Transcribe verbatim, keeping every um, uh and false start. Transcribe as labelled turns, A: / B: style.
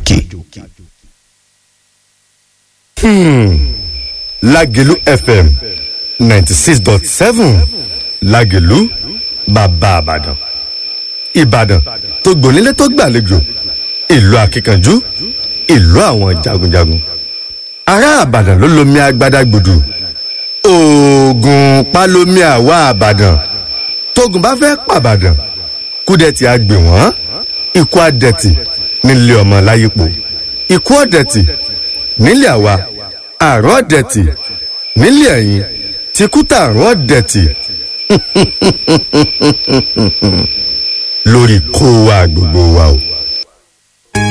A: Gàjòkè.
B: Lágelú F M ninety six dot seven, Lágelú, bàbá Àbàdàn, Ìbàdàn tó gbònílé tó gbàlejò, ìlú akíkanjú, ìlú àwọn jagunjagun. Ará Àbàdàn ló lomi agbada gbòdù, oògùn palomi. Àwa Àbàdàn, tógun bá fẹ́ pàbàdàn, kúdẹ̀tì á gbè wọ́n, ikú àdẹ̀tì nílé ọmọ láyípo, ikú ọ̀dẹ̀tì nílé àwa, àrùn ọ̀dẹ̀tì nílé ẹ̀yìn, tìkútà àrùn ọ̀dẹ̀tì lórí kó wa gbogbo wa o.